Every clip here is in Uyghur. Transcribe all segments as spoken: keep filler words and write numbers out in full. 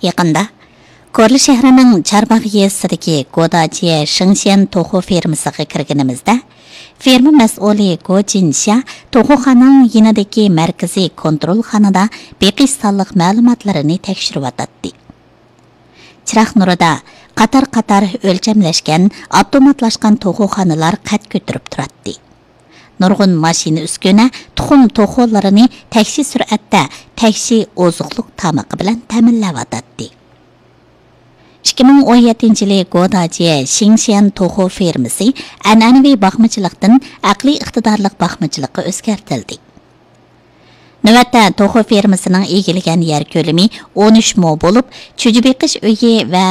يېقىندا كورلا شەھىرىنىڭ چارباغ يېزىسىدىكى گوداجيې شېڭشيەن توخۇ فېرمىسىغا كىرگىنىمىزدە، فېرما مەسئۇلى گو جىنشيا توخۇخانىنىڭ يېنىدىكى مەركىزىي كونترولخانىدا بېقىش سانلىق مەلۇماتلىرىنى تەكشۈرۈۋاتاتتى. چىراغ نۇرىدا قاتار-قاتار ئۆلچەملەشكەن ئاپتوماتلاشقان توخۇخانىلار قەد كۆتۈرۈپ تۇراتتى. نۇرغۇن ماشىنا ئۈسكۈنە تۇخۇم توخۇلىرىنى تەكشى سۈرئەتتە تەكشى ئوزۇقلۇق تامىقى بىلەن تەمىنلەۋاتاتتى. ئىككى مىڭ ئون يەتتىنچى يىلى گوداجيې شىڭشيەن توخۇ فېرمىسى ئەنئەنىۋى باقمىچىلىقتىن ئەقلىي ئىقتىدارلىق باقمىچىلىققا ئۆزگەرتىلدى. نۆۋەتتە توخۇ فېرمىسىنىڭ ئىگىلىگەن يەر كۆلىمى ئون ئۈچ مو بولۇپ، چۈجە بېقىش ئۆيى ۋە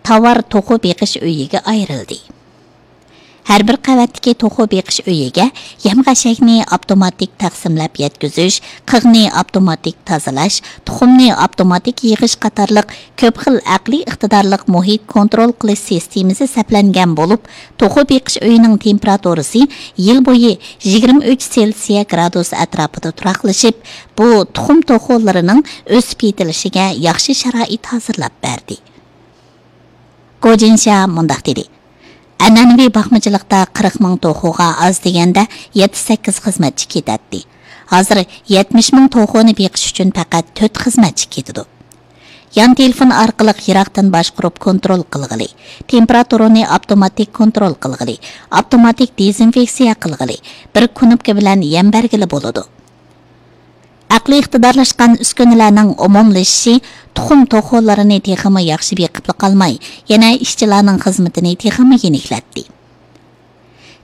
تاۋار توخۇ بېقىش ئۆيىگە ئايرىلدى. ھەر بىر قەۋەتتىكى توخۇ بېقىش ئۆيىگە يەم-خەشەكنى ئاپتوماتىك تەقسىملەپ يەتكۈزۈش، قىغنى ئاپتوماتىك تازىلاش، تۇخۇمنى ئاپتوماتىك يىغىش قاتارلىق كۆپ خىل ئەقلىي ئىقتىدارلىق مۇھىت كونترول قىلىش سىستېمىسى سەپلەنگەن بولۇپ، توخۇ بېقىش ئۆيىنىڭ تېمپېراتۇرىسى يىل بويى يىگىرمە ئۈچ سېلسىيە گرادۇس ئەتراپىدا تۇراقلىشىپ، بۇ تۇخۇم توخۇلىرىنىڭ ئۆسۈپ يېتىلىشىگە ياخشى شارائىت ھازىرلاپ بەردى. گو جىنشيا مۇنداق دېدى: ئەنئەنىۋى باقمىچىلىقتا قىرىق مىڭ توخۇغا ئاز دېگەندە يەتتە-سەككىز خىزمەتچى كېتەتتى. ھازىر يەتمىش مىڭ توخۇنى بېقىش ئۈچۈن پەقەت تۆت خىزمەتچى كېتىدۇ. يان تېلېفون ئارقىلىق يىراقتىن باشقۇرۇپ كونترول قىلغىلى، تېمپېراتۇرىنى ئاپتوماتىك كونترول قىلغىلى، ئاپتوماتىك دېزىنفېكسىيە قىلغىلى، بىر كۇنۇپكا بىلەن يەم بەرگىلى بولىدۇ. ئەقلىي ئىقتىدارلاشقان ئۈسكۈنىلەرنىڭ ئومۇملىشىشى تۇخۇم توخۇلىرىنى تېخىمۇ ياخشى بېقىپلا قالماي، يەنە ئىشچىلارنىڭ خىزمىتىنى تېخىمۇ يېنىكلەتتى.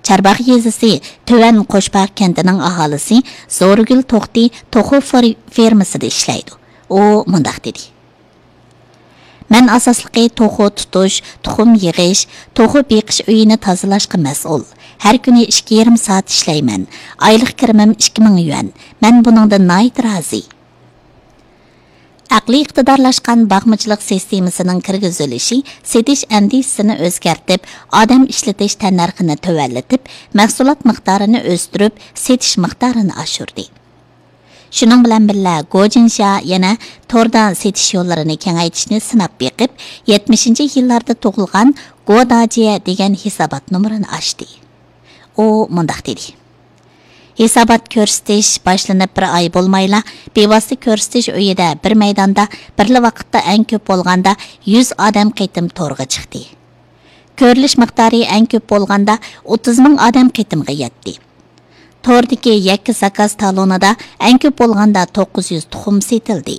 چارباغ يېزىسى تۆۋەن قوشباغ كەنتىنىڭ ئاھالىسى زورىگۈل توختى توخۇ فېر-، فېرمىسىدا ئىشلەيدۇ. ئۇ مۇنداق دېدى: مەن ئاساسلىقى توخۇ تۇتۇش، تۇخۇم يىغىش، توخۇ بېقىش ئۆيىنى تازىلاشقا مەسئۇل. ھەر كۈنى ئىككى يېرىم سائەت ئىشلەيمەن. ئايلىق كىرىمىم ئىككى مىڭ يۈەن. مەن بۇنىڭدىن ناھايىتى رازى. ئەقلىي ئىقتىدارلاشقان باقمىچىلىق سىستېمىسىنىڭ كىرگۈزۈلۈشى سېتىش ئەندىزىسىنى ئۆزگەرتىپ، ئادەم ئىشلىتىش تەننەرخىنى تۆۋەنلىتىپ، مەھسۇلات مىقدارىنى ئۆستۈرۈپ، سېتىش مىقدارىنى ئاشۇردى. شۇنىڭ بىلەن بىللە، گو جىنشيا يەنە توردا سېتىش يوللىرىنى كېڭەيتىشنى سىناپ بېقىپ، يەتمىشىنچى يىللاردا تۇغۇلغان گو داجيې دېگەن ھېسابات نومۇرىنى ئاچتى. ئۇ مۇنداق دېدى: ھېسابات كۆرسىتىش باشلىنىپ بىر ئاي بولمايلا، بىۋاسىتە كۆرسىتىش ئۆيىدە بىر مەيداندا بىرلا ۋاقىتتا ئەڭ كۆپ بولغاندا يۈز ئادەم قېتىم تورغا چىقتى. كۆرۈلۈش مىقدارى ئەڭ كۆپ بولغاندا ئوتتۇز مىڭ ئادەم قېتىمغا يەتتى. توردىكى يەككە زاكاز تالونىدا ئەڭ كۆپ بولغاندا توققۇز يۈز تۇخۇم سېتىلدى.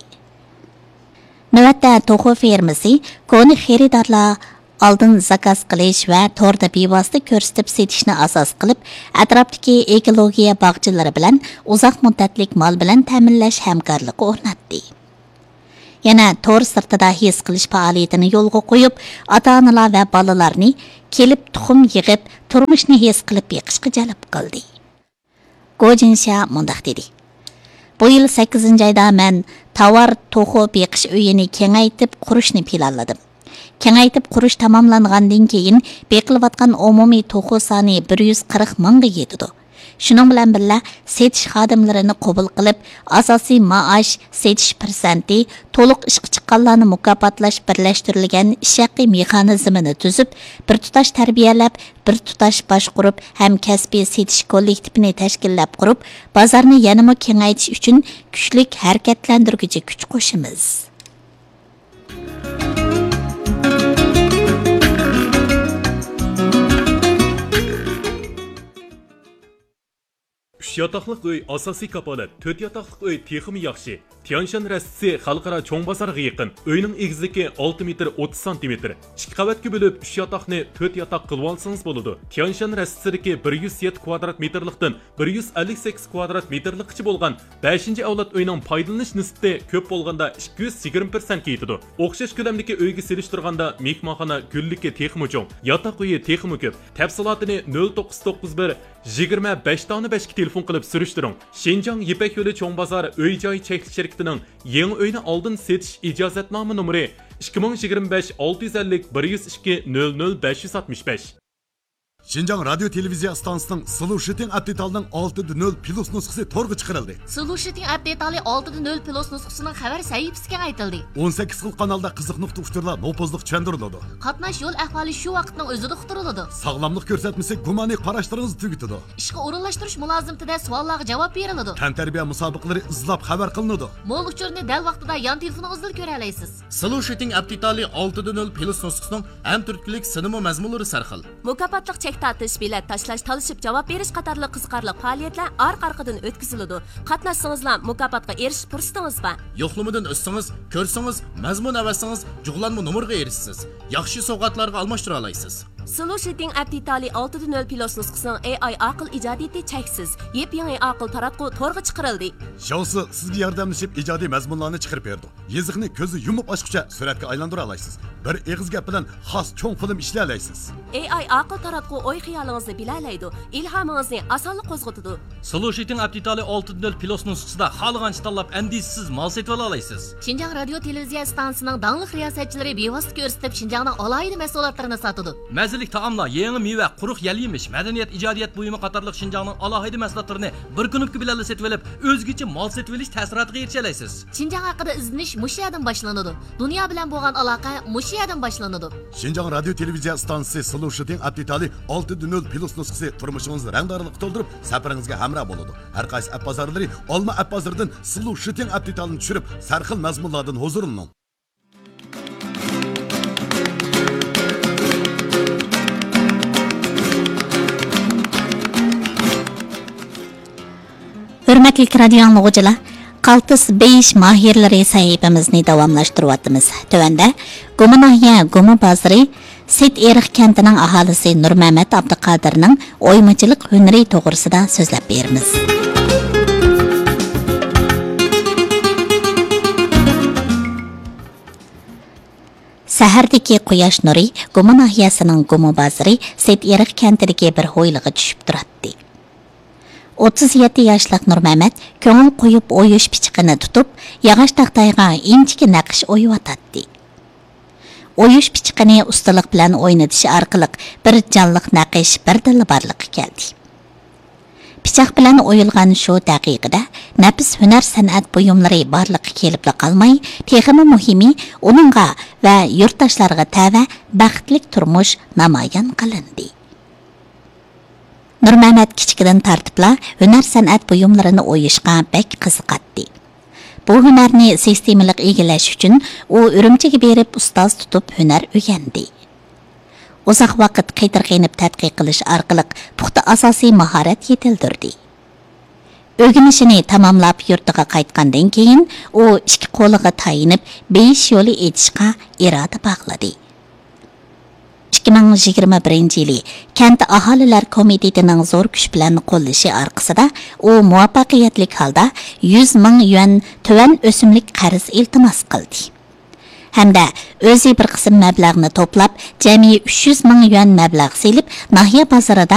نۆۋەتتە توخۇ فېرمىسى كونا خېرىدارلار ئالدىن زاكاز قىلىش ۋە توردا بىۋاسىتە كۆرسىتىپ سېتىشنى ئاساس قىلىپ، ئەتراپتىكى ئېكولوگىيە باغچىلىرى بىلەن ئۇزاق مۇددەتلىك مال بىلەن تەمىنلەش ھەمكارلىقى ئورناتتى. يەنە تور سىرتىدا ھېس قىلىش پائالىيىتىنى يولغا قويۇپ، ئاتا-ئانىلار ۋە بالىلارنى كېلىپ تۇخۇم يىغىپ، تۇرمۇشنى ھېس قىلىپ بېقىشقا جەلپ قىلدى. گو جىنشيا مۇنداق دېدى: بۇ يىل سەككىزىنچى ئايدا مەن تاۋار توخۇ بېقىش ئۆيىنى كېڭەيتىپ قۇرۇشنى پىلانلىدىم. كېڭەيتىپ قۇرۇش تاماملانغاندىن كېيىن، بېقىلىۋاتقان ئومۇمىي توخۇ سانى بىر يۈز قىرىق مىڭغا يېتىدۇ. شۇنىڭ بىلەن بىللە، سېتىش خادىملىرىنى قوبۇل قىلىپ، ئاساسىي مائاش، سېتىش پىرسەنتى، تولۇق ئىشقا چىققانلارنى مۇكاپاتلاش بىرلەشتۈرۈلگەن ئىش ھەققى مېخانىزمىنى تۈزۈپ، بىر تۇتاش تەربىيەلەپ، بىر تۇتاش باشقۇرۇپ ھەم كەسپىي سېتىش كوللېكتىپىنى تەشكىللەپ قۇرۇپ، بازارنى يەنىمۇ كېڭەيتىش ئۈچۈن كۈچلۈك ھەرىكەتلەندۈرگۈچى كۈچ قوشىمىز. ئۈچ ياتاقلىق ئۆي ئاساسىي كاپالەت، تۆت ياتاقلىق ئۆي تېخىمۇ ياخشى. تيانشان رەستىسى خەلقئارا چوڭ بازارغا يېقىن. ئۆينىڭ ئېگىزلىكى ئالتە مېتىر ئوتتۇز سانتىمېتىر. ئىككى قەۋەتكە بۆلۈپ، ئۈچ ياتاقنى تۆت ياتاق قىلىۋالسىڭىز بولىدۇ. تيانشان رەستىسىدىكى بىر يۈز يەتتە كۋادرات مېتىرلىقتىن بىر يۈز ئەللىك سەككىز كۋادرات مېتىرلىققىچە بولغان بەشىنچى ئەۋلاد ئۆينىڭ پايدىلىنىش نىسبىتى كۆپ بولغاندا ئىككى يۈز يىگىرمە پىرسەنتكە يېتىدۇ. ئوخشاش كۆلەمدىكى ئۆيگە سېلىشتۇرغاندا مېھمانخانا گۈللۈكى تېخىمۇ چوڭ، ياتاق ئۆيى تېخىمۇ كۆپ. تەپسىلاتىنى نۆل توققۇز توققۇز بىر، يىگىرمە بەش دانە بەشكە تېلېفون قىلىپ سۈرۈشتۈرۈڭ. شىنجاڭ يىپەك يولى چوڭ بازار ئۆي جاي چەكلىك شىركىتىنىڭ يېڭى ئۆينى ئالدىن سېتىش ئىجازەتنامە نومۇرى ئىككى مىڭ يىگىرمە بەش ئالتە يۈز ئەللىك بىر يۈز ئىككى نۆل نۆل بەش يۈز ئاتمىش بەش. شىنجاڭ رادىيو تېلېۋىزىيە ئىستانسىسىنىڭ سلوشىتىڭ ئەپ دېتالىنىڭ ئالتە دە نۆل پلۇس نۇسخىسى تورغا چىقىرىلدى. سلوشىتىڭ ئەپ دېتالى ئالتە دە نۆل پلۇس نۇسخىسىنىڭ خەۋەر سەھىپىسى كېڭەيتىلدى. ئون سەككىز خىل قانالدا قىزىق نۇقتا ئۇچۇرلار نوپۇزلۇق چۈشەندۈرۈلىدۇ. قاتناش يول ئەھۋالى شۇ ۋاقىتنىڭ ئۆزىدە ئۇقتۇرۇلىدۇ. ساغلاملىق كۆرسەتمىسى گۇمانىي قاراشلىرىڭىزنى تۈگىتىدۇ. ئىشقا ئورۇنلاشتۇرۇش مۇلازىمىتىدە سوئاللارغا جاۋاب بېرىلىدۇ. تەنتەربىيە مۇسابىقىلىرى ئىزلاپ خەۋەر قىلىنىدۇ. مول ئۇچۇرنى دەل ۋاقتىدا يان تېلېفونىڭىزدىلا كۆرەلەيسىز. سلوشىتىڭ ئەپ دېتالى ئالتە دە نۆل پلۇس نۇسخىسىنىڭ ھەم تۈرتكىلىك سىنىمۇ مەزمۇنلىرى سەرخىل. مۇكاپاتلىق چەك تارتىش، بېلەت تاشلاش، تالىشىپ جاۋاب بېرىش قاتارلىق قىزىقارلىق پائالىيەتلەر ئارقا-ئارقىدىن ئۆتكۈزۈلىدۇ. قاتناشسىڭىزلا مۇكاپاتقا ئېرىشىش پۇرسىتىڭىز بار. يوقلىمىدىن ئۆتسىڭىز، كۆرسىڭىز، مەزمۇن ئەۋەتسىڭىز، جۇغلانما نومۇرغا ئېرىشىسىز. ياخشى سوۋغاتلارغا ئالماشتۇرالايسىز. سلوشىتىڭ ئەپ دېتالى ئالتە دە نۆل پلۇس نۇسخىسىنىڭ ئېي ئاي ئاقىل ئىجادىيىتى چەكسىز. يېپيېڭى ئاقىل تاراتقۇ تورغا چىقىرىلدى. شاۋسى سىزگە ياردەملىشىپ ئىجادىي مەزمۇنلارنى چىقىرىپ بېرىدۇ. يېزىقنى كۆزنى يۇمۇپ ئاچقۇچە سۈرەتكە ئايلاندۇرالايسىز. بىر ئېغىز گەپ بىلەن خاس چوڭ فىلىم ئىشلىيەلەيسىز. ئېي ئاي ئاقىل تاراتقۇ ئوي-خىيالىڭىزنى بىلەلەيدۇ، ئىلھامىڭىزنى ئاسانلا قوزغىتىدۇ. سلوشىتىڭ ئەپ دېتالى ئالتە دە نۆل پلۇس نۇسخىسىدا خالىغانچە تاللاپ، ئەندىشىسىز مال سېتىۋالالايسىز. شىنجاڭ رادىيو تېلېۋىزىيە ئىستانسىسىنىڭ داڭلىق رىياسەتچىلىرى بىۋاسىتە كۆرسىتىپ، شىنجاڭنىڭ ئالاھىدە مەھسۇلاتلىرىنى ساتىدۇ. مەززىلىك تائاملار، يېڭى مېۋە، قۇرۇق يەل-يېمىش، مەدەنىيەت، ئىجادىيەت بۇيۇمى قاتارلىق شىنجاڭنىڭ ئالاھىدە مەھسۇلاتلىرىنى بىر كۇنۇپكا بىلەنلا سېتىۋېلىپ، ئۆزگىچە مال سېتىۋېلىش تەسىراتىغا ئېرىشەلەيسىز. شىنجاڭ ھەققىدە ئىزدىنىش مۇشۇ يەردىن باشلىنىدۇ. دۇنيا بىلەن بولغان ئالاقە مۇشۇ يەردىن باشلىنىدۇ. شىنجاڭ رادىيو تېلېۋىزىيە ئىستانسىسى سلوشىتىڭ ئەپ دېتالى ئالتە دە نۆل پلۇس نۇسخىسى تۇرمۇشىڭىزنى رەڭدارلىققا تولدۇرۇپ، سەپىرىڭىزگە ھەمراھ بولىدۇ. ھەر قايسى ئەپ بازارلىرى، ئالما ئەپ بازىرىدىن سلوشىتىڭ ئەپ دېتالىنى چۈشۈرۈپ، سەرخىل مەزمۇنلاردىن ھۇزۇرلىنىڭ. ھۆرمەتلىك رادىيو ئاڭلىغۇچىلار، قالتىس بېيىش ماھىرلىرى سەھىپىمىزنى داۋاملاشتۇرۇۋاتىمىز. تۆۋەندە گۇما ناھىيە گۇما بازىرى سېيىت ئېرىق كەنتىنىڭ ئاھالىسى نۇرمەمەت ئابدۇقادىرنىڭ ئويمىچىلىق ھۈنىرى توغرىسىدا سۆزلەپ بېرىمىز. سەھەردىكى قۇياش نۇرى گۇما ناھىيەسىنىڭ گۇما بازىرى سېيىت ئېرىق كەنتىدىكى بىر ھويلىغا چۈشۈپ تۇراتتى. ئوتتۇز يەتتە ياشلىق نۇرمەمەت كۆڭۈل قويۇپ ئويۇش پىچىقىنى تۇتۇپ، ياغاچ تاختايغا ئىنچىكە نەقىش ئويۇۋاتاتتى. ئويۇش پىچىقىنى ئۇستىلىق بىلەن ئوينىتىش ئارقىلىق بىر جانلىق نەقىش بىردىنلا بارلىققا كەلدى. پىچاق بىلەن ئويۇلغان شۇ دەقىقىدە نەپىس ھۈنەر-سەنئەت بۇيۇملىرى بارلىققا كېلىپلا قالماي، تېخىمۇ مۇھىمى، ئۇنىڭغا ۋە يۇرتداشلارغا تەۋە بەختلىك تۇرمۇش نامايان قىلىندى. نۇرمەمەت كىچىكىدىن تارتىپلا ھۈنەر-سەنئەت بۇيۇملىرىنى ئويۇشقا بەك قىزىقاتتى. بۇ ھۈنەرنى سىستېمىلىق ئىگىلەش ئۈچۈن ئۇ ئۈرۈمچىگە بېرىپ ئۇستاز تۇتۇپ ھۈنەر ئۆگەندى. ئۇزاق ۋاقىت قېتىرقىنىپ تەتقىق قىلىش ئارقىلىق پۇختا ئاساسىي ماھارەت يېتىلدۈردى. ئۆگىنىشىنى تاماملاپ يۇرتىغا قايتقاندىن كېيىن، ئۇ ئىككى قولىغا تايىنىپ بېيىش يولى ئېچىشقا ئىرادە باغلىدى. ئىككى مىڭ يىگىرمە بىرىنچى يىلى كەنت ئاھالىلەر كومىتېتىنىڭ زور كۈچ بىلەن قوللىشى ئارقىسىدا، ئۇ مۇۋەپپەقىيەتلىك ھالدا يۈز مىڭ يۈەن تۆۋەن ئۆسۈملۈك قەرز ئىلتىماس قىلدى. ھەمدە ئۆزى بىر قىسىم مەبلەغنى توپلاپ، جەمئىي ئۈچ يۈز مىڭ يۈەن مەبلەغ سېلىپ، ناھىيە بازىرىدا